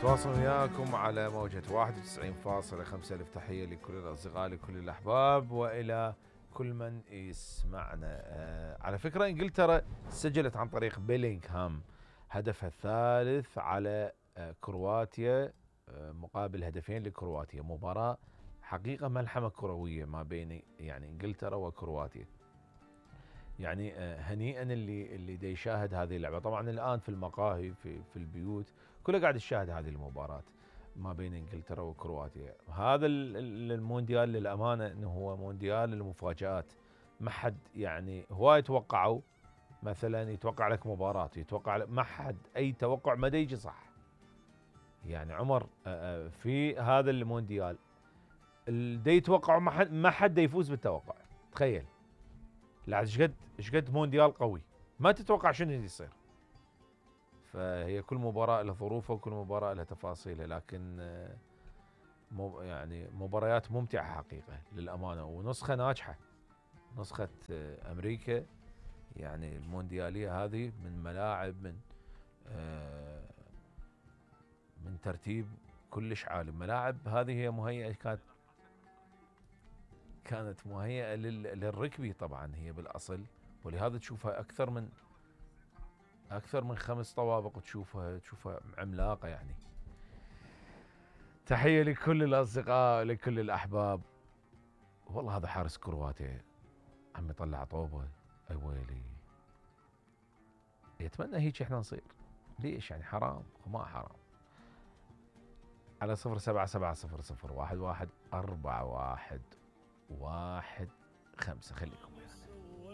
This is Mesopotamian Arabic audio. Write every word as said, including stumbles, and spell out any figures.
تواصل وياكم على موجة واحد وتسعين فاصلة خمسة. ألف تحية لكل الأصدقاء لكل الأحباب وإلى كل من يسمعنا. آه على فكرة إنجلترا سجلت عن طريق بيلينغهام هدفها الثالث على آه كرواتيا آه مقابل هدفين لكرواتيا. مباراة حقيقة ملحمة كروية ما بين يعني إنجلترا وكرواتيا. يعني آه هنيئا اللي اللي دا يشاهد هذه اللعبة. طبعا الآن في المقاهي في في البيوت كله قاعد يشاهد هذه المباراة ما بين انجلترا وكرواتيا. هذا المونديال للامانه انه هو مونديال المفاجآت. ما حد يعني هواي توقعوا مثلا يتوقع لك مباراة يتوقع لك ما حد اي توقع ما يجي صح. يعني عمر في هذا المونديال اللي يتوقعوا ما حد ما حد يفوز بالتوقع. تخيل لا ايش قد ايش قد مونديال قوي ما تتوقع شنو يصير. فهي كل مباراة لها ظروفها وكل مباراة لها تفاصيلها. لكن يعني مباريات ممتعة حقيقة للأمانة ونسخة ناجحة. نسخة أمريكا يعني المونديالية هذه من ملاعب من من ترتيب كلش عالي. ملاعب هذه هي مهيئة كانت كانت مهيئة للركبي طبعا هي بالأصل. ولهذا تشوفها أكثر من أكثر من خمس طوابق وتشوفها تشوفها عملاقة يعني. تحية لكل الأصدقاء لكل الأحباب. والله هذا حارس كرواتيا عم يطلع طوبة. أي ويلي يتمنى هيك احنا نصير. ليش يعني حرام ما حرام. على صفر سبعة سبعة صفر صفر واحد واحد أربعة واحد واحد خمسة خليكم